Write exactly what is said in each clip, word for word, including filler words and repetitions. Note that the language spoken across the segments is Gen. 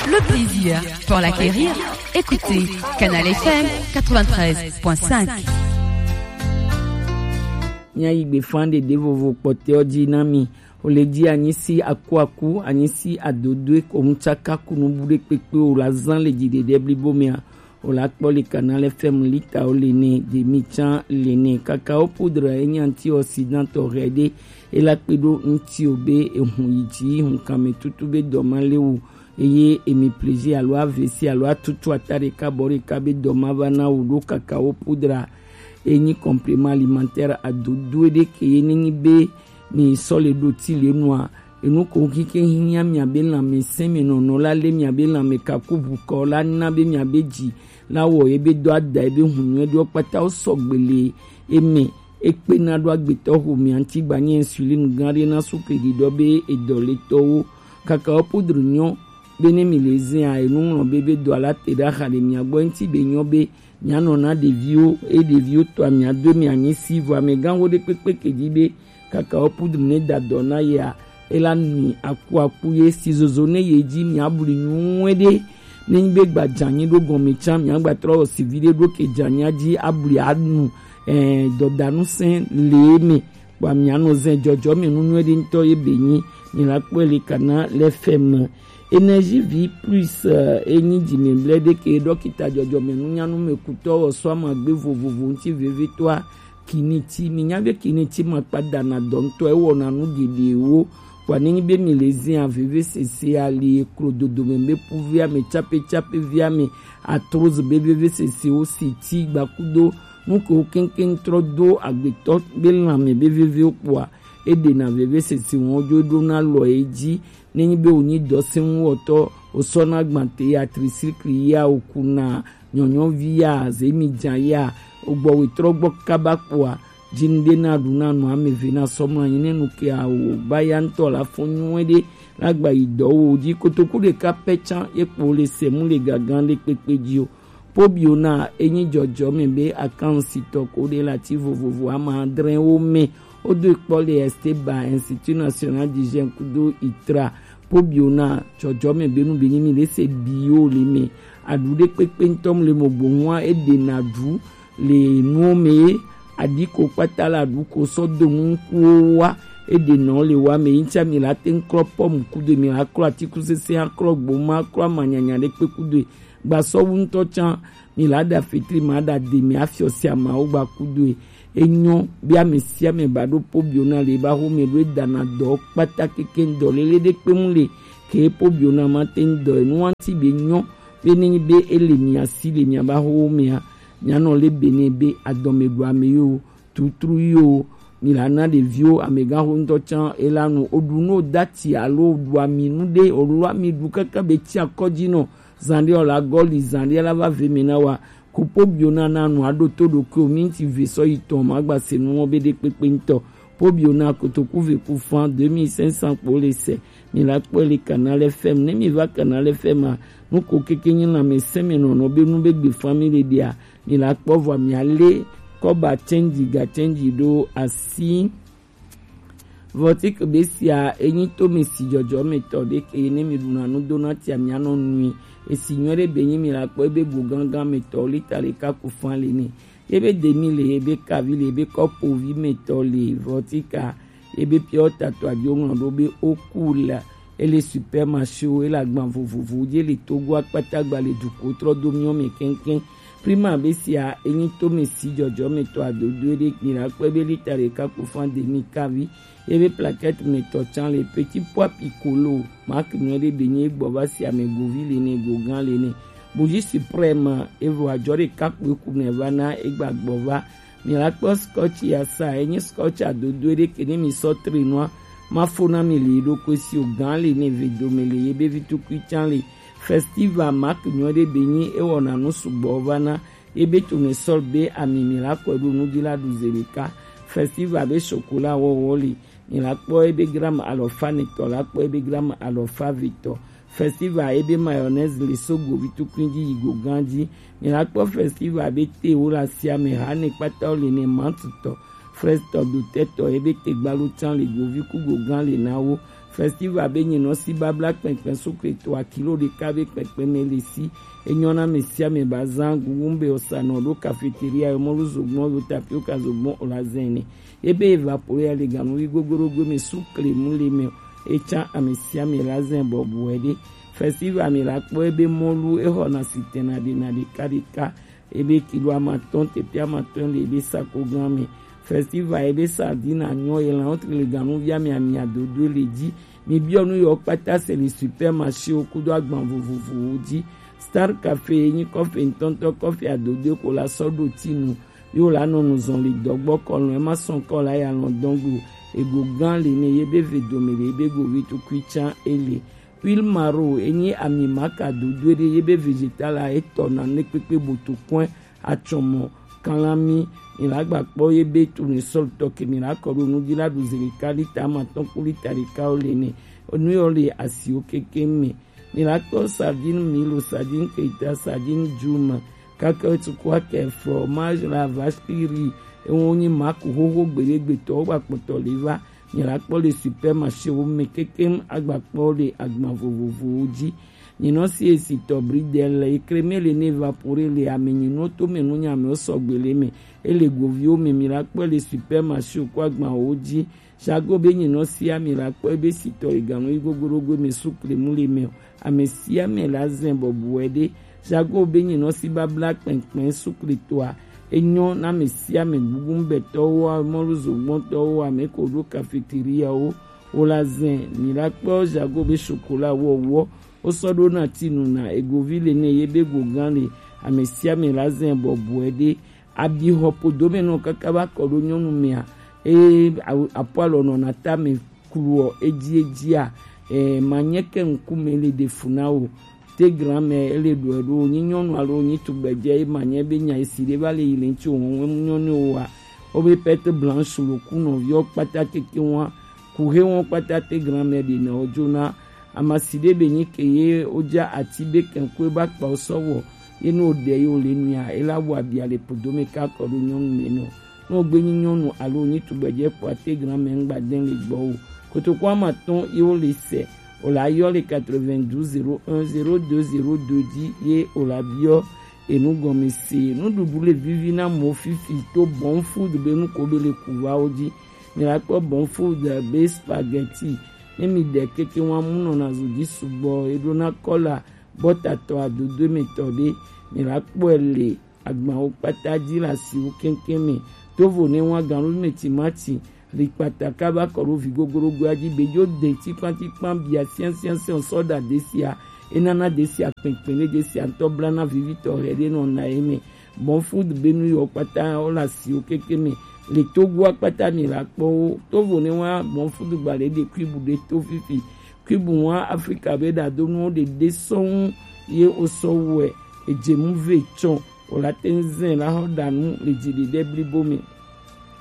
Le plaisir pour l'acquérir, écoutez Canal F M quatre-vingt-treize point cinq. Míayi gbefa ɖeɖe vovo kpɔtɛwo dzi na mi. O le ji anyi si akuaku, anyi si adodoe ko ŋutsaka kunu bu ɖe kpekpe o la zan le dziɖeɖe blibo mea. O la kpɔ le Canal F M lita o le ne, demi tsan le ne. Cacao poudre enyi antioxydant tɔ hɛ ɖe. E la kpe ɖo ŋuti o be ehun yi dzi, hun kanmɛ tutu be dɔ ma le wu. Eye emi plaisir alo avesi alo atutu ata ɖeka bɔ ɖeka be dɔ ma va na wu ɖo cacao poudre. Enyi complément alimentaire adodoe ɖe ke ye nenyi be mi sɔ le ɖo ti le nua. Enu ko kike hinya miabe lãmesẽ me nɔnɔ la le miabe lãme kaku bukɔ la na be miabe dzi la wɔ ye be dɔ ada ye be hun nyuie ɖewo kpata wo sɔgbe le eme. Ekpena ɖo agbetɔ xo mia ŋuti gbanye insuline gã ɖe na sukli ɖiɖɔ be edɔ le tɔwo. Cacao poudre nyɔ be ne mi le zea enu ŋlɔ be be dɔ la te ɖe axa le mia gbɔ ŋuti be nyɔ be mianɔ na ɖeviwo, eye ɖeviwo tɔa miado emi anyi si vɔ amegãxo ɖe kpekpe ke dzi be cacao poudre ne da dɔ na yea, ela nui akuaku ye si zozo ne ye dzi miabli nyuie ɖe. Ne nyi be gba dzanyi ɖo gɔme tsan miagba trɔ wɔ si vi ɖe ɖo ke dzanya dzi abli anu, eh, dɔdanu sɛn le eme. Kpɔa mianɔ zɛ dzɔdzɔme nu nyuie ɖe ŋutɔ ye be nyi mi la kpɔe le kana le fɛ me. Énergie vie plus, eh, enyi dzimɛblɛ ɖe ke ɖɔkita dzɔdzɔme nunyanu me kutɔ wɔ sɔ amagbe vovovo ŋuti vevitɔa kiniti. Mi nya be kiniti ma kpa dana dɔ ŋutɔ ewɔna nu geɖewo. Kpɔa ne nyi be mi le zia veve sese ali eklo dodome be puvia me tsape tsape via me atroz be veve sese wo seti gbakudo nu ke wo keŋkeŋ trɔ do agbetɔ be lãme be vevewo kpɔa eɖena veve sese wɔn dzo ɖona lɔ edzi. Nenyi be wònyi dɔsɛnuwɔtɔ, wòsɔna gbãte ya, tricycle ya, wòkuna nyɔnyɔvi ya, zemidzã ya, wògbɔ wòtrɔ gbɔ kaba kpɔa, dzinuɖe na ɖu na nɔ ame eve na sɔmlɔ anyi ne nu ke awo ba ya ŋutɔ la fɔ nyuie ɖe la gba yi dɔ wo dzi kotoku ɖeka pɛ tsã ye kpo le sɛmu le gagã ɖe kpekpe dzi o. Pobiona enyi dzɔdzɔme be akansitɔ ko ɖe le ati vovovo ama adre wo me. Wodo kpɔ le Esteba Institut National d'Hygiène kudo itra. Pobiona dzɔdzɔme be nu be nyi mi le se bi yo le me. Aɖu ɖe kpekpe ŋutɔ mu le mo gbohua eɖena ɖu le nuwo me ye aɖi ko kpata la ɖu ko sɔ do nu ŋkuwo wa eɖena wo le wa me yi ŋutsa mi la te ŋu klɔ pɔmu kudo mi la klɔ atikusese aklɔ gboma aklɔ amanyanya ɖe kpe kudo gbasɔwu ŋutɔ tsã mi la ɖa fetri ma ɖa de mi afiɔ sia ma wo gba kudo e. Enyɔ be ame sia ame ba ɖo pobiona le ba xo me ɖo edana dɔ kpata keke dɔ lele ɖe kpe mu le ke pobiona ma te ŋu dɔ enu wanti be nyɔ be ne nyi be ele mia si le mia ba xo mea mia nɔ le be ne be adɔme ɖo ame yo tutru yo mi la na ɖeviwo amegãxo ŋutɔ tsã ela nu oɖu nu dati alo oɖu ami nu ɖe olo ami ɖu kaka be tsi akɔdzi nɔ zan ɖe ɔla gɔli zan ɖe la va ve me na wa kupo bio na na nu aɖo to ɖokui o mi ŋuti ve sɔ yi tɔn ma gba se nu wɔ be ɖe kpekpe ŋutɔ po bio na kotoku ve ku fan deux mille cinq cents kpo le se mi la kpɔe le Canal F M ne mi va Canal F M a nu ko keke nyi lãmesẽ me nɔnɔ be nu be gbe fan mi le ɖea mi la kpɔ vɔ mi ale kɔba change ga change ɖo asi. Vɔtik be sia enyi to mi si dzɔdzɔ me tɔ ɖe ke ne mi ɖuna nu dona tia mi anɔ nui esi nyɔ ɖe be nyi mi la kpɔ ebe go gangan me tɔ lita ɖeka ku fan le ne ebe demi le ebe kavi le ebe kɔpovi me tɔ le vɔtika ebe piɔ tatɔ adio ŋlɔ ɖo be oku la ele supermarché wo ele agban vovovo je le Togo akpata gba le duko trɔ do miɔ me kɛnkɛn. Prima be sia enyi to me si dzɔdzɔ me tɔ adodo ɖe mi la kpɔ ebe lita ɖeka ku fan demi kavi ebe plaquette me tɔ tsan le petit pois piccolo marque nyɔ ɖe be nyi egbɔ va si ame govi le ne go gan le ne. Bougie suprême evo adzɔ ɖeka kpoe ku ne va na egba gbɔ va. Mi la kpɔ scotch ya sa enyi scotch adodo ɖe ke ne mi sɔ tre nua ma fo na mi le ɖo ko si o gan le ne ve do me le ye be vi tukui tsan le. Festival marque nyɔ ɖe be nyi ewɔna nu sugbɔ va na ebe tournesol be ami mi la kɔe ɖo nu dzi la ɖu ze ɖeka. Festival be chocolat wɔwɔ li mi la kpɔ ebe gramme alɔfa netɔ la kpɔ ebe gramme alɔfa vetɔ. Festival ebe mayonnaise le so govi tukui dzi yi go gan dzi. Mi la kpɔ festival be te wo la sia me ha ne kpata wo le ne mantutɔ. Frestɔ dotɛtɔ ebe te gbalo tsan le govi ku go gan le na wo. Festival be nyinɔ si babla kpɛnkpɛn sukle to akilo ɖeka be kpɛnkpɛn mɛ le si. Enyɔ na mɛ sia mɛ ba zan gugu be osanɔ ɖo cafeteria yo mɔlu zogbɔn yo tapioca zogbɔn o la zɛn ne. Ebe evapore ya le ganuvi gogorogo mɛ sukle mu le mɛ. Etsa ame sia ame la zɛn bɔbɔɛ ɖe. Festival mi la kpɔ ebe mɔlu ehɔ na sitɛn na ɖe na ɖeka ɖeka. Ebe kilo amatɔn tepi amatɔn le ebe sako gan mɛ. Festival ebe sardine anyɔ ye lan otre le ganuvi ame ami adodo le dzi. Mi biɔ nu yɔ kpata se le supermarché wo kudo agban vovovowo dzi. Star Café ye nyi kɔfe ŋutɔŋutɔ kɔfe adodo ko la sɔ ɖo ti nu. Yo la nɔ nu zɔn le dɔgbɔ kɔlɔn ema sɔn kɔ la ya lɔn dɔn go. Ego gan le ne ye be ve dome le ye be go vi tukui tsan ele. Huile maro enyi ami maka dodo ɖe ye be vegetal a etɔ na ne kpekpe boto kɔn atsɔmɔ kalami. Mi la gba kpɔ ye be tournesol tɔ ke mi la kɔ ɖo nu dzi la ɖu zeli ka lita amatɔn kpo lita ɖeka wo le ne. Nu yɔ le asiwo keke me. Mi la kpɔ sardine milo, sardine keita, sardine juma, kaka tukua ke fromage la vache qui rit. Ewo nyi maku xoxo gbeɖegbetɔ wo gba kpɔtɔ le va. Mi la kpɔ le supermarché wo me kekem agba kpɔ le agban vovovowo dzi. Nyinɔ si esitɔ bridel le ekreme le ne evapore le ame nyinɔ to me nu nyame wo sɔgbe le me. Ele goviwo me mi la kpɔ le supermarché ko agban wo dzi. Jago be nyinɔ si ami la kpɔ ebe sitɔ eganu yi gogorogo me sukle mu le me o. Ame sia ame la zɛn bɔbɔɛ ɖe. Jago be nyinɔ si babla kpɛnkpɛn sukle toa. Enyɔ na ame sia ame gugu ŋbɛtɔwo, mɔluzogbɔntɔwo, ame ko ɖo cafeteria wo. Wo la zɛn mi la kpɔ jago be chocolat wɔwɔ. Wo sɔ ɖo na ti nu na egovi le ne ye be gogan le. Ame sia ame la zɛn bɔbɔɛ ɖe. Abi xɔ podo me nɔ kaka va kɔ ɖo nyɔnu mea, eye apo alɔ nɔ na ta me kluɔ edzi edzia. Eh, manyɛ ke ŋkume le ɖe fu na wo. Te gran me ele ɖɔ ɖo nyi nyɔnu alo nyi tugbedze ye manyɛ be nya esi ɖe va le yi le ŋtsi wo ŋu nyɔnu wa. Wo be perte blanche lo ku nɔviɔ kpata keke wa. Ku he wo kpata te gran me ɖe na wo dzo na. Amasi ɖe be nyi ke ye wo dza ati be kɛnkue ba kpa wo sɔ wɔ. Ye no ɖe yo le nua, ela wa bia le podo me ka kɔ ɖo nyɔnu me nɔ. No gbe nyi nyɔnu alo nyi tugbedze kpɔ ate gran me ŋgba den le gbɔ wo. Kotoko amatɔn ye wo le se. O la yɔ le quatre-vingt-douze zéro un zéro deux zéro deux dzi ye o la biɔ enu gɔme se. Nuɖuɖu le vivi na mo fifi to Bon Food be nu ko be le ku va wo dzi. Mi la kpɔ Bon Food be spaghetti. Ne mi ɖe keke wa mu nɔ na zo dzi sugbɔ. E ɖo na kɔla bɔtatɔ adodo me tɔ ɖe. Mi la kpɔe le agbawo kpata dzi le asiwo keŋkeŋ me. Tovo ne wa ganu me timati. Li kpata kaba kɔ ɖo vi gogorogoa dzi be dzo de tikpan tikpan bia sian sian sian sɔ ɖa desia. Enana desia kpɛnkpɛn ɖe desia ŋutɔ blana vivitɔ hɛ ɖe nɔ na ye me. Bon Food be nu yɔ kpata wo le asiwo keke me. Le Togoa kpata mi la kpɔ wo. Tovo ne wa Bon Food gba le ɖe kuibu ɖe to fifi. Kuibu wa Afrika be ɖadonuwo ɖeɖe sɔŋ ye wo sɔ wɛ. Edze mu ve tsɔ. O la te ŋ zɛn la xɔ ɖa nu le dzi ɖeɖe blibo me.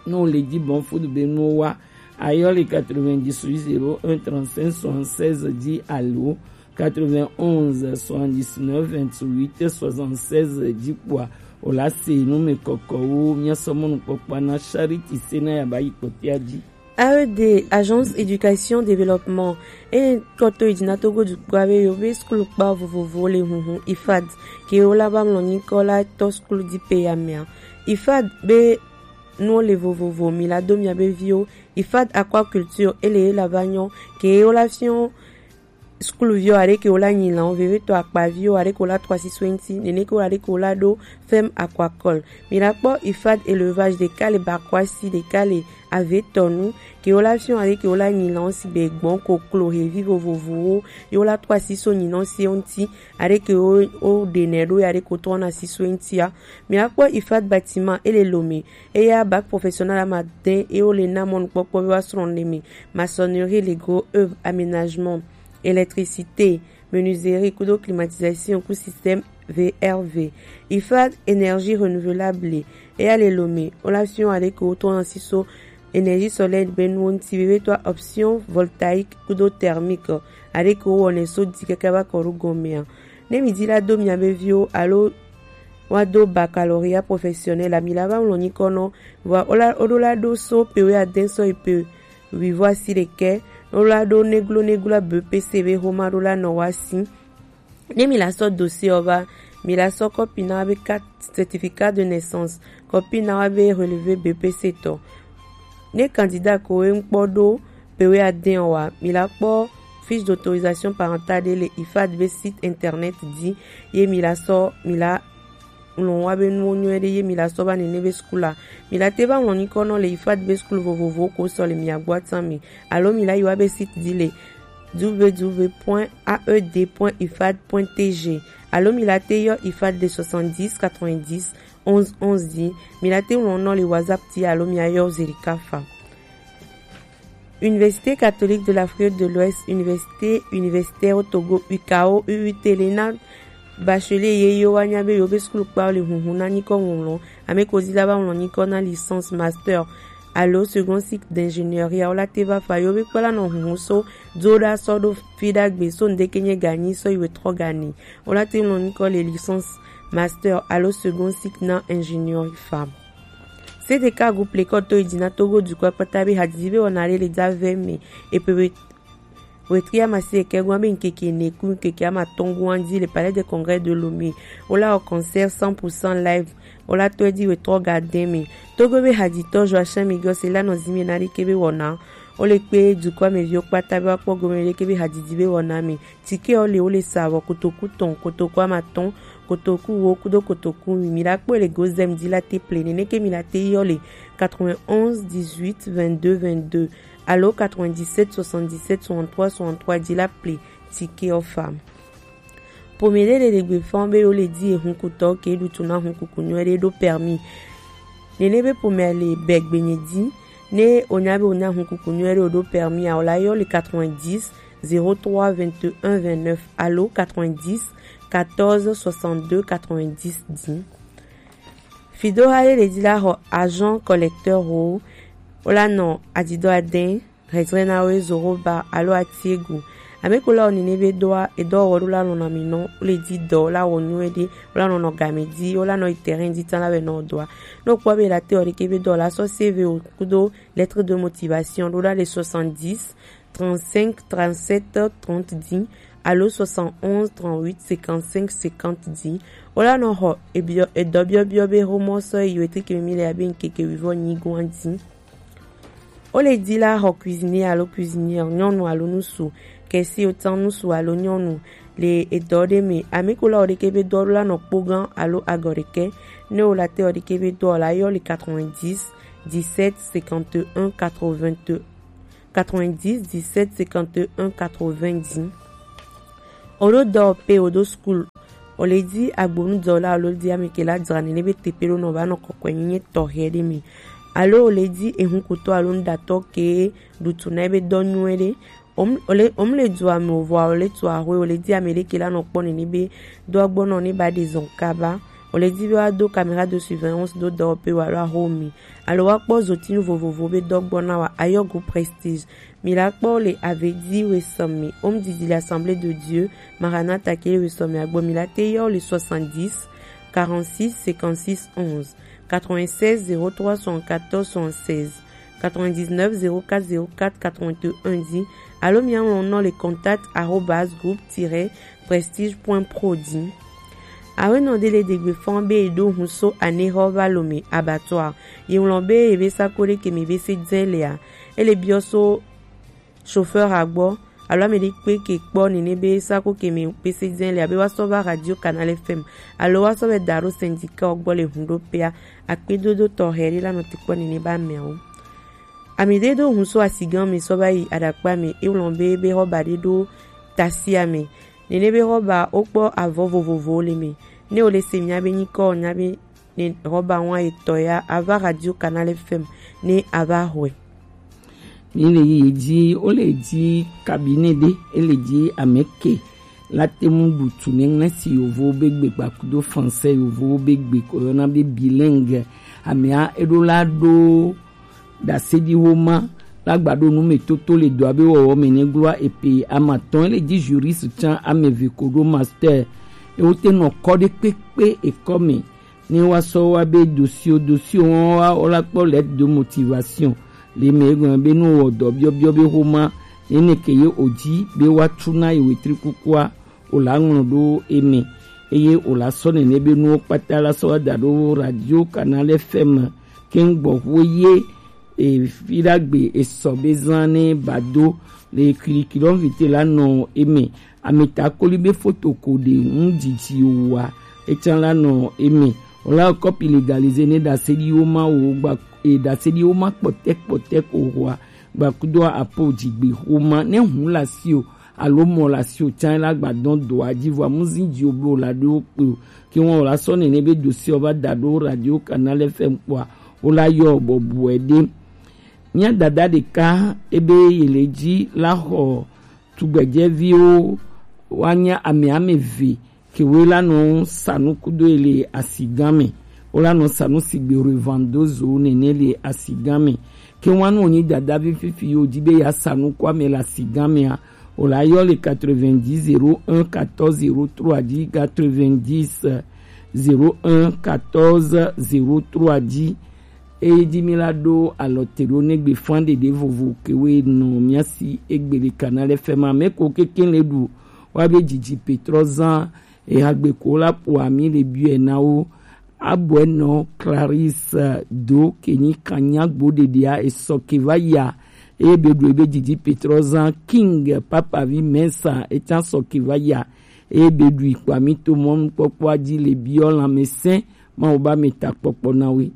Ne o le dzi Bon Food be nuwo wa, ayɔ le quatre-vingt-dix-huit zéro un trente-cinq soixante-seize dzi alo quatre-vingt-onze soixante-dix-neuf vingt-huit soixante-seize dzi kpɔa, o la se nu me kɔkɔwo. Mia sɔ mɔnukpɔkpɔa na Charity Sena ya ba yi kpɔtea dzi. A E D, Agence Éducation Développement, e kɔto idina Togo dukpɔ be yo be skul kpa vovovo le hunhun ifad ke wo la ba mlɔ nyikɔ la tɔ skul di pe ya mea. Ifad be nu le vovovo mi la do mia be viwo. Ifad aquaculture ele la ba nyɔ ke wo la fiɔ skuluviwo aɖe ke wo la nyi lãwo, vevitɔ akpaviwo aɖe ke wo la tɔ asiso eŋuti, nene ke wo aɖe ke wo la ɖo ferme aquacole. Mi la kpɔ ifad élevage ɖeka le Bakwasi, ɖeka le Avetɔnu, ke wo la fiɔ aɖe ke wo la nyi lãwo sigbe gbɔn, koklo, hevi vovovowo, ye wo la tɔ asiso nyinɔ si eŋuti, aɖe ke wo, wo ɖenɛ ɖo ya aɖe ke wo trɔna asiso eŋutia. Mi la kpɔ ifad bâtiment ele Lomé, eya bac professionnel ama de ye wo le na mɔnukpɔkpɔ be wa srɔ̃ le mi, maçonnerie, le gros œuvre, aménagement, électricité, menuiserie kudo climatisation ku système V R V. Ifad énergie renouvelable, eya le Lomé, wo la fiɔ aɖe ke wo trɔna asiso énergie solaire be nuwo ŋuti, vevitɔ option voltaïque kudo thermique, aɖe ke wo wɔnɛ so di kaka va kɔ ɖo gɔmea. Ne mi di la do mia be viwo alo wa do baccalauréat professionnel la, mi la va ŋlɔ nyikɔ nɔ, vɔa wo la, wo ɖo la ɖo so pe wuiade sɔ yi pe Wivo asi ɖekɛ, wo la ɖo néglo néglo B P C be xoma ɖo la nɔ wa si. Ne mi la sɔ dossier ɔ va, mi la sɔ kɔpi na wa be carte, certificat de naissance, kɔpi na wa be relevé B P C tɔ. Ne candidat ko e ŋkpɔ ɖo pe we adɛn ɔ wa, mi la kpɔ fiche d'autorisation parentale ɖe le ifad be site internet di, ye mi la sɔ mi la ŋlɔ wa be nuwo nyuie ɖe ye mi la sɔ va nene be school a. Mi la te va ŋlɔ nyikɔ nɔ le ifad be school vovovo ko sɔ le mia gbɔ atan mi, alo mi la yi wa be site di le w w w point a e d point ifad point t g, alo mi la te yɔ ifad le soixante-dix quatre-vingt-dix onze onze di. Mi la te ŋlɔ nɔ le WhatsApp ti alo mi a yɔ Zelika fa. Université catholique de l'Afrique de l'Ouest, Université universitaire au Togo, U K O, U U T, le na bachelier ye yo wa nya be yo be school kpa le hunhun na nyikɔ ŋlɔ, ame ko di la va ŋlɔ nyikɔ na licence, master alo second cycle d'ingénierie a, wo la te va fa yo be kpla nɔ hunhun so do ɖa sɔ ɖo fi ɖagbe so ŋdeke nye ganyi sɔ yi wetrɔ gani, wo la te ŋlɔ nyikɔ le licence, master alo second cycle na ingénierie fa. C D K groupe le kɔ to yi dzi na Togo dukɔ kpata be hadzidzi be wɔna ɖe le dza vɛ me epe we wetri amasieke gɔn be ŋkeke ne ku ŋkeke amatɔn gɔn dzi le Palais de Congrès de Lomé. Wo la wɔ concert cent pour cent live. Wo la tɔe di wetrɔ gadɛn me. Togo be hadzitɔ Joachim Migos la nɔ zimi na ɖike be wɔna. Wo le kpe dukɔ me viwo kpata be wa kpɔ gome ɖeke be hadzidzi be wɔna me. Tike ɔ le wo le sa vɔ kotoku tɔn, kotoku amatɔn, kotoku wo kudo kotoku wi. Mi la kpɔ le gozem di la te ple nene ke mi la te yɔ le quatre-vingt-onze dix-huit vingt-deux vingt-deux alo quatre-vingt-dix-sept soixante-dix-sept soixante-trois soixante-trois di la ple tike ɔ fa. Pome ɖe le ɖegbe fɔn be wo le di ehunkutɔ ke ɖutu na hunkuku nyuie ɖe ɖo permis. Nene be pome le bɛ gbenye di. Ne o nya be o nya hunkuku nyuie ɖe o ɖo permis a, o la yɔ le quatre-vingt-dix zéro trois vingt et un vingt-neuf alo quatre-vingt-dix quatorze soixante-deux quatre-vingt-dix di. Fido ha ɖe le di la xɔ agent collecteur ho, wo la nɔ adidɔ adɛn, hezre na wo zoro ba alo atiegu. Ame ko la o nene be dɔa, edɔ wɔ ɖo la nɔ na mi nɔ, wo le di dɔ, wo la wɔ nyuie ɖe, wo la nɔ nɔ game di, wo la nɔ yi terrain di tan la wɛ nɔ dɔa. Ne o kpɔ be la te ɔ ɖeke be dɔ la sɔ C V o kudo lettre de motivation ɖo ɖa le soixante-dix trente-cinq trente-sept trente di alo soixante-onze trente-huit cinquante-cinq cinquante di. Wo la nɔ xɔ ebiɔ edɔ biɔbiɔ be xomɔ sɔ yi wetri ke mi le abe ŋkeke wivɔ nyi gɔn di. Wo le di la xɔ cuisinier alo cuisinière nyɔnu alo ŋutsu, kesi otan ŋutsu alo nyɔnu le edɔ ɖe me. Ame ko la o ɖeke be dɔ la nɔ kpo gã alo agɔ ɖeke. Ne o la te o ɖeke be dɔ la yɔ le quatre-vingt-dix dix-sept cinquante et un quatre-vingt-deux quatre-vingt-dix dix-sept cinquante et un quatre-vingts di. O ɖo dɔ pe o ɖo school, o le di agbonu dɔ la o le di ame ke la dzra nene be tepe ɖo nɔ va nɔ kɔkɔe nyenye tɔxɛ ɖe me. Alo o le di ehunkutɔ alo nuɖatɔ ke ɖutu na ebe dɔ nyuie ɖe. O m- o le o m le du ame o vɔa o le tu axwe o le di ame ɖeke la nɔ kpɔ nene be dɔ gbɔ nɔ ne ba ɖe zɔn kaba. O le di be wa do caméra de surveillance do dɔ pe wa lo axo mi. Alo wa kpɔ zotinu vovovo be dɔ gbɔ na wa ayɔ groupe Prestige. Mi la kpɔ le avedi wesɔmi, home didi l'Assemblée de Dieu, Maranatha ke le wesɔmi agbɔ mi la te yɔ le soixante-dix quarante-six cinquante-six onze, quatre-vingt-seize zéro trois soixante-quatorze soixante-seize, quatre-vingt-dix-neuf zéro quatre zéro quatre quatre-vingt-un di, alo mi a ŋlɔ nɔ le contact arobase groupe tiret prestige point pro di. Awenɔ ɖe le degbe fɔn be e ɖo hun so anexɔ va lo me abattoir. Ye ŋlɔ be ye be sako ɖe ke mi be se dzɛ lea, e le biɔ so chauffeur a gbɔ alo ame ɖe kpe ke kpɔ nene be sako ke mi be se dzɛ lea be wa sɔ va radio Canal F M alo wa sɔ vɛ da ɖo syndicat ɔ gbɔ le hun ɖo pea, akpedodo tɔxɛ ɖe la nɔ te kpɔ nene ba ameawo. Ami ɖe ɖo hun so asigan mi sɔ va yi aɖakpa mi, e ŋlɔ be be xɔba ɖe ɖo tasia mi. Nene be xɔba wo kpɔ avɔ vovovowo le mi. Ne wo le se mia be nyikɔ nya be ne xɔba ŋua etɔ ya ava radio Canal F M ne ava xɔe. Mi le yi dzi wo le dzi cabinet ɖe e le dzi ame ke la te mu ɖutu ne ŋlɛ si yovo be gbe kpakudo français yovo be gbe ko yɔna be bilingue. Amea eɖo la ɖo ɖaseɖiwoma la gba ɖo nu me toto le dɔa be wɔwɔ me ne gloa epe amatɔn le dzi juriste tsan ame eve ko ɖo master. Ewo te nɔ kɔ ɖe kpekpe ekɔ me ne wa sɔ wa be dosio dosio wɔn wa wo la kpɔ lettre de motivation Le me egɔn be nu wɔ dɔ biɔbiɔ be xoma nene ke ye oji be wa tu na ye wetri kukua o la ŋlɔ ɖo eme. Eye o la sɔ nene be nuwo kpata la sɔ wa da ɖo Radio Canal F M ke ŋgbɔ xo ye e fi ɖagbe e sɔ be zan ne ba do le kirikiri ɔn vite la nɔ eme. Ameta koli be foto ko ɖe ŋu dzidzi wa etsan la nɔ eme. O la kɔpi legalize ne ɖaseɖiwo ma wo gba e ɖaseɖiwo ma kpɔtɛ kpɔtɛ ko hoa gbakudo apo dzigbe xoma ne hun la si o alo mɔ la si o tsan la gba dɔn do aji vɔ amuzi dzi o blo la ɖo kpe o. Ke wɔn o la sɔ nene be dosi o va da ɖo Radio Canal F M kpɔa o la yɔ bɔbɔe ɖe. Mía dada ɖeka ebe ye le dzi la xɔ tugbɛjɛviwo woanya ame ame eve kewoe la nɔ sanu kudo ye le asigã me. Wo la nɔ sanu sigbe revando zo nene le asigã me. Ke wanu wonyi dadavi fifi yo di be ya sanu ku ame le asigã mea, o la yɔ le quatre-vingt-dix zéro un quatorze zéro trois di quatre-vingt-dix zéro un quatorze zéro trois di. Eye ji mi la ɖo alɔ te ɖo ne gbe fan ɖeɖe vovo kewe nɔ mia si egbe le Canal F M a me ko keken le ɖu wa be dzidzi petrɔ zan ehagbe ko la po ami le biɔe na wo. Abɔe nɔ Clarisse do kenyi kanya gbo ɖeɖea esɔ ke va ya. Eye be ɖu ebe dzidzi petrɔ zan King Papa vi Mensa etan sɔ ke va ya. Eye be ɖu ikpa mi to mɔnukpɔkpɔa ji le biɔ lanmɛsɛn Mawu ba mi ta kpɔkpɔ na we.